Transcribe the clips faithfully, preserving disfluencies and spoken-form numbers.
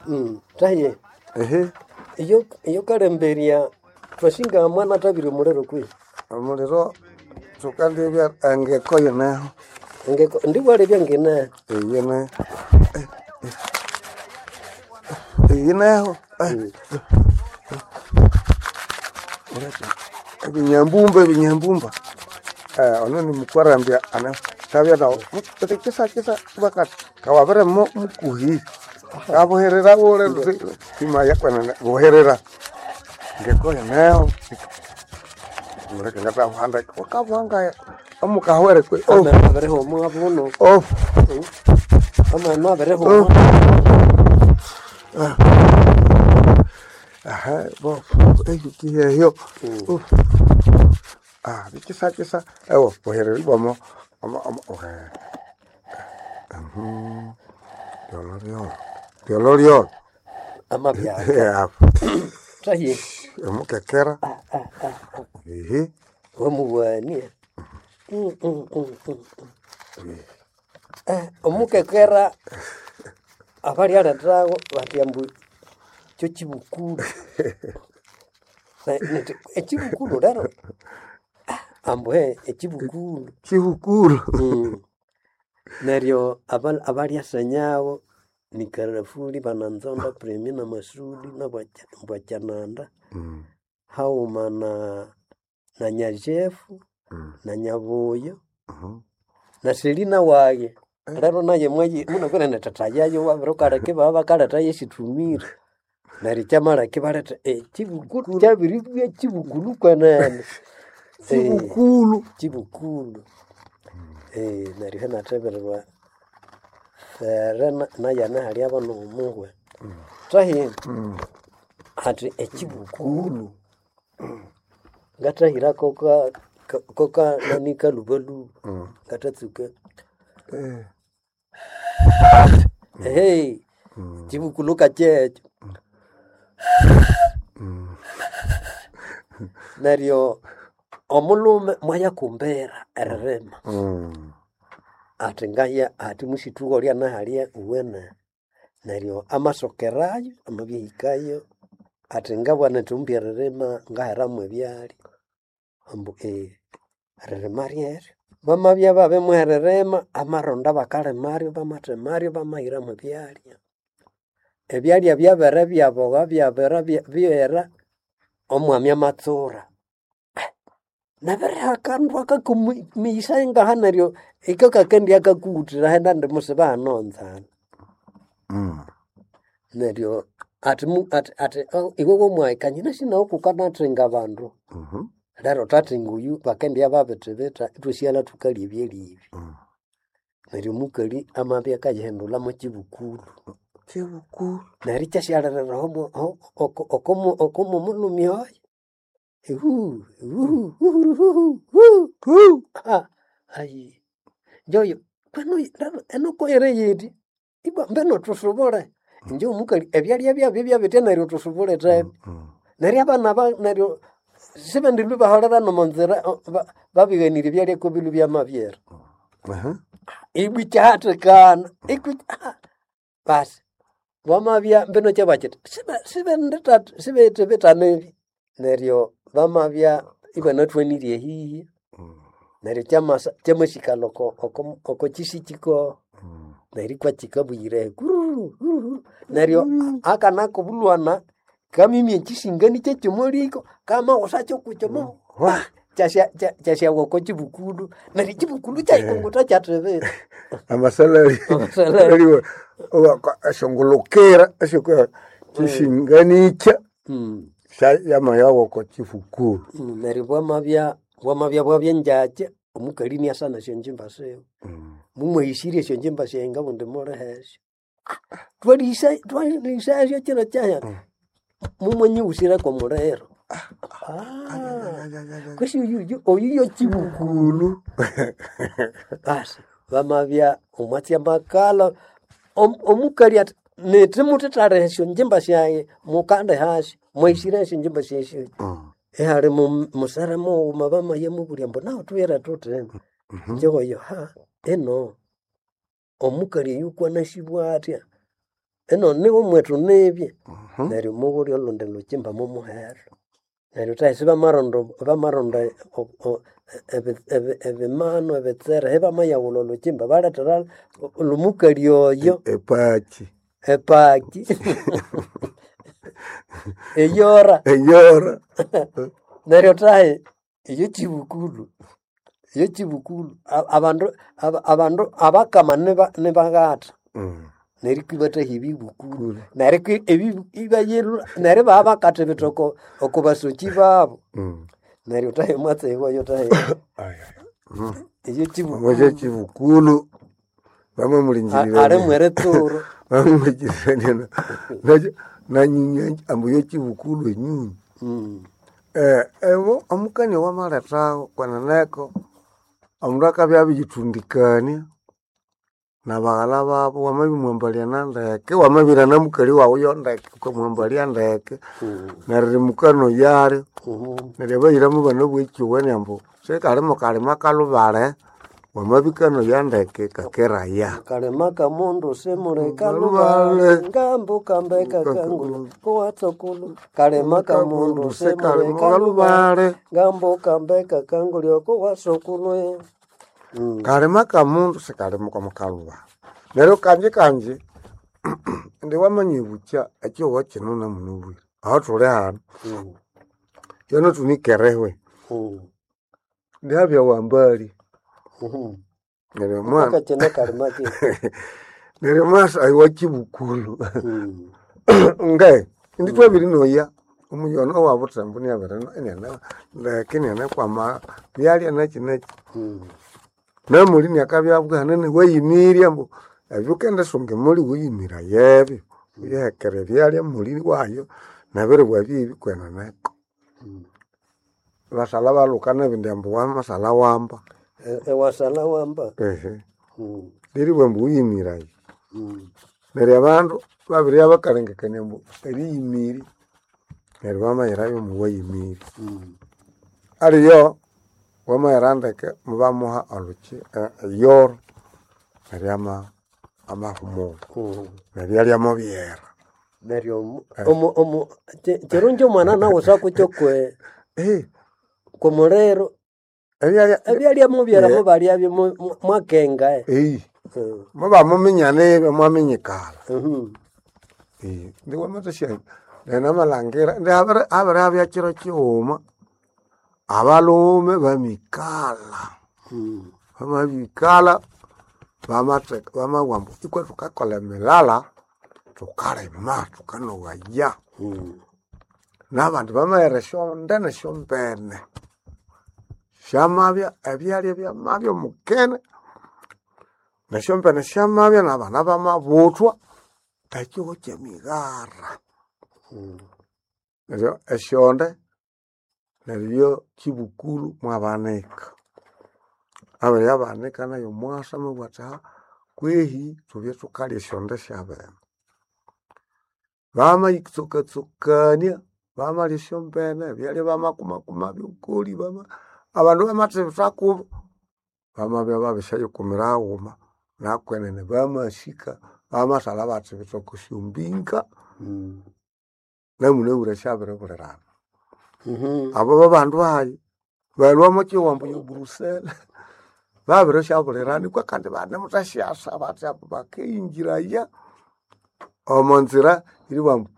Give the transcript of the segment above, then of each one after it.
Mm, taye Ehe, iyo iyo kalemberya twashinga mwana tabiri omuliro kwi omuliro tukandibya engeko yineho. Engeko ndiwalebya ngine Eyine. Eyineho. Ebinyambumba ebinyambumba. Eh, ono ni mukwarambya ana tabya nawo. Kisa kisa bakati kawabere mu mukuhi. Kabuherera bule simaya kwenene buherera. Ngeko yineho. Muleke ngatabuhanda wakabuhanga omukahwere kwe. Oh, ameno abirihoma buno oh. ameno abirihoma Aha, bo, ekiheyo. Ah, bikisa kisa. Ewo, buherera bomo. Omo omo ohe. Mhm. Lyolo lyolo. Lyolo lyolo. amabya Yeah. taye Omukekera. Ehe. wamuwania Mm, mm, mm, mm. Eh, omukekera abalyalethawo bati ambu kyo kibukulu Na- nti ekibukulu lero Ah, ambu he ekibukulu Kibukulu. Mm. Neryo aba- abalyasenyawo ni Karafuli bananzonda Premi na Masudi na Bwacha- Bwachananda Mm. haghuma na na Nyajefu Mm. na Nyabuyo Mhm. na Selina waye lero naye mwayi munakwira na tata yayo wabirukaleka baba bakaletha yesitumire neryo kyamaleka ibaletha ekibukulu kyabiribya kibukulu kwenene Eh, Kibukulu. kibukulu Eh, neryo inathebererwa fere na- nayana hali nomuhwe tahi Mm. ati ekibukulu ngathahira koka ka- koka nani kalubaluba Mm. ngathatsuka Eh. ehe Mm. kibukulu kakyekyo Mm. neryo omulhume mwayakumbira eririma Mm. ati ngaya ati musithuko lyanahalya uwene neryo amasokerayo amabyahikayo ati ngabwana nthumbi eririma ngaheramu ebyalya ambu ee eririma ryeryo bamabya babimuha eririma amaronda bakalimaryo bamathemaryo bamahiramu ebyalya ebyalya byabere byaboha byabere bya- byera omwami amatsura nabiriha akandu akakumiyisa ngaha neryo iko kakendya kakuwuthira henda ndi musiba hano nzana Mm. neryo ati mu- ati ati "Oh, iwe womwahikanye nasinawo kukanathinga bandu Mhm. lero tathinga oyu bakendya babithibitha ithwasighalha thukalya ebyalya Mm. neryo omukali amabya akayihindulha mwekibukulu Kibukulu. neryo ikyasyalerera okomumulhumi oyo ihu ihu uhuruhuhu hu Hu. Ah, ayi njoyo kweno enokoyere yiti ibwa mbeno tusubule inje omukali ebyalya byabyo byabitya neryo tusubule thebe Mm. neryo abana ba neryo sibendilwe baholera nomonzira o- ba- babighanire ebyalya kobilu byamabyera Aha. ibwa ikyahathikana ikwi ah, basi bamabya mbino kyabakiti sibendithanebi neryo bamabya ibanathwanirye ehihi Mm. neryo kyamasa kyamasikala oko oko oko kyisikiko Mm. neryo ikwakikabuyire kururu kururu neryo akana kobulwana kamimya ekisingani kyekyomuliko kamaghusa kyokukyomo Wa. kyasyawa oko kibukulu neryo ekibukulu kyayikunguta kyathibitha Amasalali. Amasalali. Aliwe ashongolokera ashoko kishinganicha Mm. yamayawo ko kifukulu. Mm, neryo bwamabya bwamabya bwabyenjakya omukali iniasana esyonjimba siwe Mm. mumwahisirye esyonjimba syayi ngabundi mulihesyo twalihisa twalihisasyo kiro kyaya mumwanyighusire kwomuliro Ah, kwesi oyu oyu yo kibukulu Kulu. basi bamabya omwatsi amakala Om- omukali ati nithi muthithaliha esyonjimba syayi mukandihasyo mwahisire esyonjimba syesyo Mm. ihali mu- musere mughuma bamaya mubulya ambu nawu thuyire thuthi Mhm. njegoyo ha ino omukali oyu kwanasibwa atya Eno niwo mwetu nibye neryo mubulya olundi lukimba mumuhero. Neryo thahisi bamaronda bamaronda o- o- ebi- ebi- ebimanu ebitsere ibamayaghulha olhukimba balethera olhumukali oyo Epaki epaki eyora eyora neryo thahi eyo kibukulu eyo kibukulu A- abandu aba- abandu abakama niba- nibaghatha Mm. neryo ibathahya ebibukulu neryo kwi- ebi- ibayilhwa neryo ibabakatha ebitoko oko basoki babu Mm. neryo thahi omwatsi wayo thahi Ai, ai. Mm. eyo Omwatsi kibukulu ekibukulu A- bamwe ali mweritsuro bamwe nanyunya ambu yekibukulu enyunyu Mm. Eh, ewo omukania wamalethaho kweneneko omundu akabya abiyithundikania nabaghala babo wamabimwambalya nandeke wamabira namukali wawu yondeke ukamwambalya ndeke Mm. neryo rimukano yalyo Mhm. neryo abayiramu bano bwekyuwene ambu sikalimo kalima kalubale wamabikano yandeke kakeraya Kalema kamundu simule Kalubale. kalubale ngambu kambeka kangulu kuwatsokulu kalema kamundu simule Kalima kalubale kalubale ngambu kambeka kangulu kuwasokulu Mm. kalima kamundu sikalima kwamukalubale neryo kanji kanji indi wamanya ibukya ekihugho kino namunabwire aho thuli hano Mm. yono thunikerehwe Mm. ndihabya wambali Mhm. neryo omwana Mpaka kino kalima ki neryo mwasa ayi kibukulu Mm. nge indi twabiri noya omuyono wa buthembu niabiri inene ndeke inene kwama byalya naki naki Mm. namuli niakabya bwanene wayimirya ambu ebyo ukendisunga emuli wiyimira yebyo uyihekera ebyalya muli wayo nabiribwa bibi kweneneko Mm. basalha balhuka nebindi ambu wamasalha wamba E- Ewasala wamba ehe Mm. liribwa ambu wiyimirayo Mm. neryo abandu babiribya bakalengekania ambu eriyimiri neryo bamayirayo muwayimiri Mm. aliyo wamayira ndeke mubamuha olhuki eh, eyoro neryo ama amahumula Mm. neryo yalyamo byera Neryo omu- omu- omu- ki- kirungi omwana nawe sakukyo kwe Eh, kumuliro ebyalya ebyalya mubyera Yeah. mubalyabyo mu- mu- mwakenga eh. eyi Mm. mubamuminyana ebyo mwaminyikala Mhm. Eh, ndi wamathasya nenamalhangira ndi habiri habirabya kiro kighuma abalhume bamikala Mm. bamabikala bamatheka bamabugha ambu ikwa thukakolha emilala thukalima thukanoghaya Mm. nabandi bamaghera esyonde nesyombene syamabya ebyalya byamabya omukene nesyombene syamabya nabana bamabuthwa ekihugho kyemighara Mm. neryo esyonde neryo kibukulu mwabanika abiribya banika nayo omwasa amabugha athi ha kwehi thubye thukalya esyonde syabene bamayitsokatsokania bamalya esyombene ebyalya bamakumakuma byokoli bama abandu bamathibitha kubo bamabya babisyayikumira haghuma nakwenene bamasika bamasalha bathibitha oko syombinga Mm. namunabwire syabiribulirana Mhm. abo babandu hayi balhwa omwa ambu ye Brusela babirisyabulirana ikwa kandi banemuthasyasa bathi abo bakeyingiraya omo nzira eribugha ambu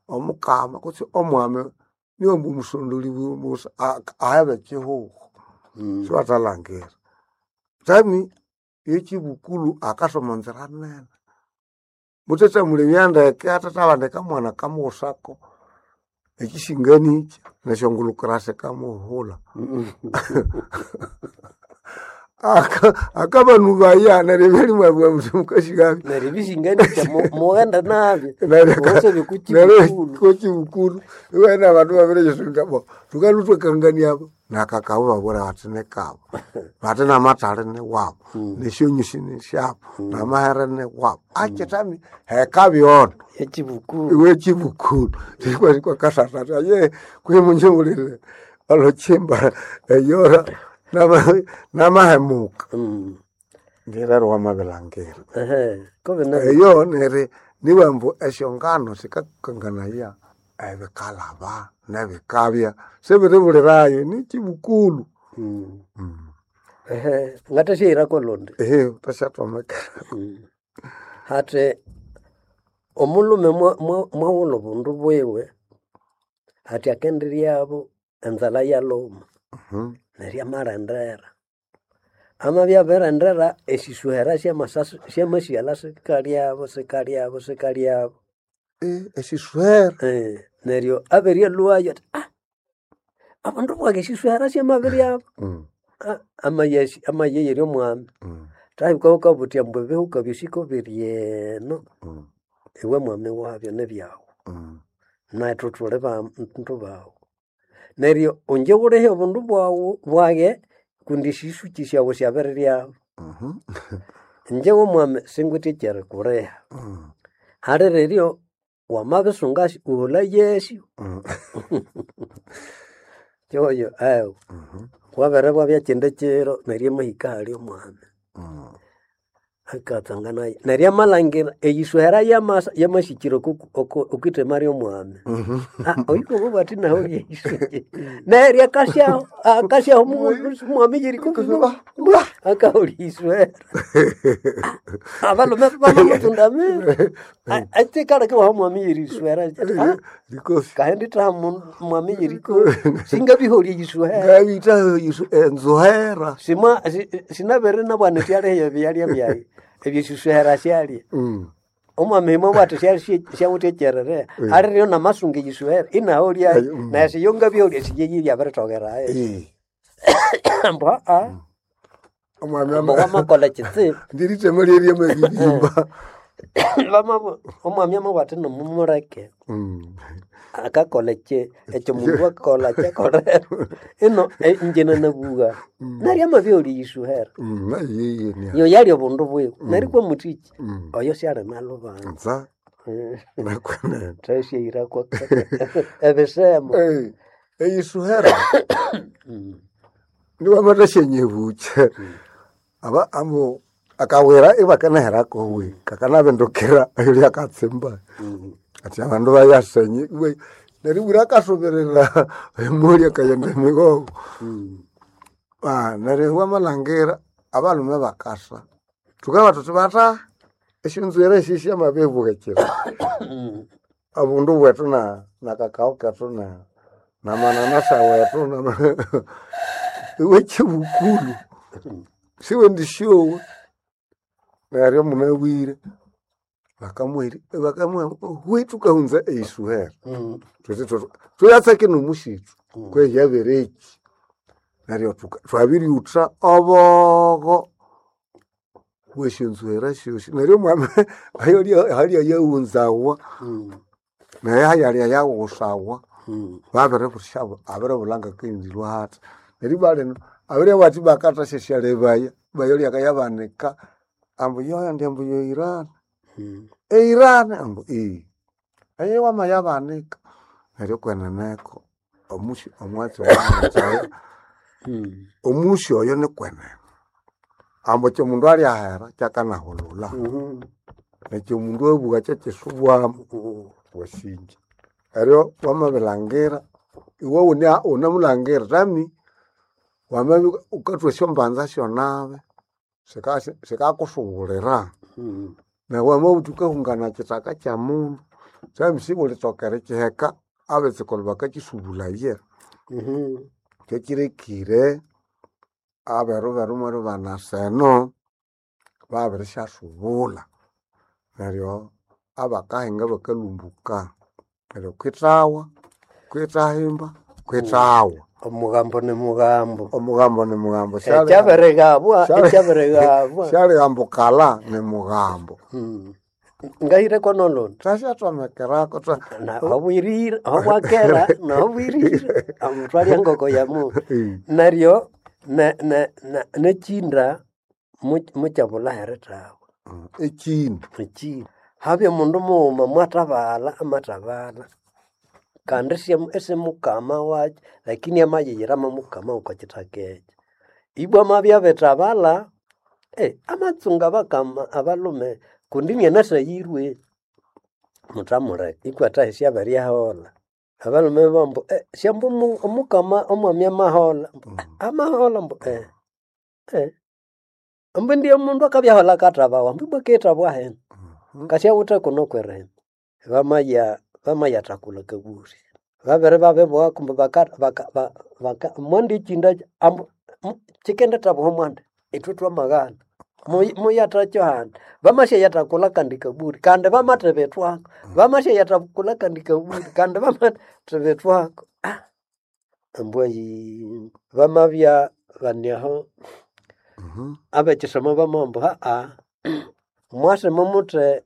omukama kutse omwami niwe ambu omusondoli musa ahebe ekihugho Mm. sibathalhangira tami yekibukulu akasa omo nzira nene muthethamulebya ndeke athathabandika mwana kamughusako ekisinganikyi nesyongulukira sikamuhulha Mm. Aka- akabanubaya neryo ebyalimwabugha muthi mukashikabi Neryo ebishinganisya mu- mughenda nabyo Neryo ka- wose neryo bikukibukulu kokibukulu iwena abandu babiriyisunga bo thukalhuthwakangania abo nakakabo babwira bathi nikabo bathi namathali niwabo Mm. nesyonyusi nisyabo namahere niwabo akithami hekabyona ekibukulu iwe kibukulu kwakasatata ye kwimunjungulire olukimba eyora nama- namahemuka Mm. ndirero wamabilangira Ehe, kobe na eyo neri Nibambu esyongano sikakanganaya ebikalaba nebikabya sibiribulirayo nikibukulu. Mm. Mm. Ehe, ngathasyairako lundi. Ehe, tasyathomekera. Mm. Hathi omulhume mwa- mwa- mwawulha obundu bwiwe hathi akendiryabo enzalha yalhuma Mhm. neryo amalendera. Amabya abirilendera esisuhera syamasasi syamasighalha sikalyabo sikalyabo sikalyabo. Eh, esisuhera. Eh, neryo abiryalhwayo athi ah abandu bwayi esisuhera syamabiryabo. Mm. Ah, amayesi amayeyerya omwami. Mm. Thahika wukabuthya ambu ebihuka byosi kobiri eno Mm. iwe mwami wabyo nibyawu. Mm. Nethu thuli bandu bawu. Neryo ingye wulihe obundu bwawu bwaghe kundi esisuki syawu syabiriryabu. Mhm. Ingye womwami singwithe ekyerikuliha. Mm. Haliriryo wamabisungasyo wuhulayesyo. Mm. Kyoyo agho. Mhm. Wabiribwabya kyindi kiro neryo amahika ahali omwami. Mm. Akatsanganayo. Neryo amalhangira eyisuhera yamasa yamasikira oku- oku- okwithema ly'omwami. Mhm. Ah, oyu kobwa athi nahu lyeyisuki. Neryo akasyaho akasyaho omwami yeriko akahulya isuhera. Abalhume bamamutsundamira. Ekikaleka iwaha omwami yerisuhera. Ah, Likofi. kahindi thaha mwami yeriko singabiholya eyisuhera. Ngabitha isu- enzuhera. Simwa si- sinabere nabwana syaliheyo ebyalya byayi ebyesisuhera syalya. Mm. Omwami mwabwatha syawithe ekyerere aliryo namasunga eyisuhera inaholyayo Mm. naye siyo ngabiholya siyeyirya abiritokerayo. Eh. Ambu aa Omwami ambu ama wamakolha kitsibu. ndirithema lyerye Bamabu omwami amabwatha namumuleke Mm. akakolha ekyi ekyo mundu akolha kyakolera ino eh, ingye nanabuwa neryo amabiholya eyisuhera. Mm, nayiye nia. Iyo yalya obundu bwiwe neryo kwamuthiki Mm. oyo syalinalubanza. Nza nakwenene. Thasyairako ebisemo. Eh, eyisuhera Mm. niwamathasyanyebuche. Aba ambu akawira ibakanahera kowe kakanabindukira ayolya akatsimba. Mm. Ati abandu bayasenye iwe neryo bwira akasuberera emuli akayenda emigongo. Mm. Ah, neryo wamalhangira abalhume bakasa. Thukabugha thuthi batha esyonzwiri esyo syamabibughekera. Mm. Obundu bwethu na na kakao kethu na na mananasa wethu na iwe kibukulu siwendisyowa neryo munabwire bakamuheri bakamuha hwi thukahunza eyisuhera Mm. thuthi thuthi thuyatsake nomusithu Mm. kweyabereki neryo thuka- thwabiryutha obogo bwesyonzuhera syosi neryo omwami ayolya halya yaghunzawa Mm. naye hayalya yaghusawa Mm. babiribusya abiribulha ngakendilwa hathi neryo balino abirya bathi bakathasyasya bayolya kayabanika ambu yoyandi ambu yoirani Mm. eirani ambu ii eyo wamayabanika neryo kweneneko omusi omwatsi wamayayo Mm. omusi oyo nikwenene ambu kyomundu alyahera kyakanahulula Mhm. nekyo omundu abugha kyakisubwamu Mm. wasinja eryo wamabilhangira iwe wune wunemulhangira tami wamabya wukathwa esyombanza syonabi sika- sikakusughulira Mm. neryo wamabutha wukahungana kithaka kyamundu tami siwulithoka erikiheka abetsukulhu bakakisubulaya Mhm. kyekirekire aberu beru mweribana seno babirisyasubula neryo abakahinga bakalumbuka neryo kwithawa kwithahimba kwithawa Omugambo ni mugambo. omugambo ni mugambo Syali- Ekyabirighabwa Syali- ekyabirighabwa. syalihambukala ni mugambo Mm. Ngahireko nolondi. thasyathwamekerako tha- Na hobwirire hobwakera nahobwirire amutwalya engoko yamu. Eh, Neryo ne ne ne nekinda mu- mukyabulha herithawa. mm, ekindu Ekinda. Habya omundu mughuma mwathabalha amathabalha kandi isya- isimukama wakyo lakini amayiyira mukama okwa kithaka ekyo. Ibwa amabya abithabalha eh, amatsunga abakama abalhume kundi inianasayirwe. Muthamuleka ikwathahi syabiryaholha. Abalhume bambu eh, syambu omu- omukama omwami amaholha. Ambu, "Eh, amaholha ambu eh, eh. Ambu ndiye mundu akabyaholha akathabawa ambu ibwa akithabwa hena. Kasyawithe kuno kwirima. Bamaya bamayathakula akaburi. Babere babibugha kumbe baka baka ba- baka mwandi ekyinda ambu mu- kyikendithabuha mwandi ithwe twamaghana. Muyi- Muyathakyo handi. Bamasyayathakula akandi kaburi kandi bamathibithwako. Bamasyayathakula akandi kaburi kandi bamathibithwako. Ah, ambwa ayi bamabya bani aho Mhm. ab'ekisomo bamabugha ambu aa mwase mumuthe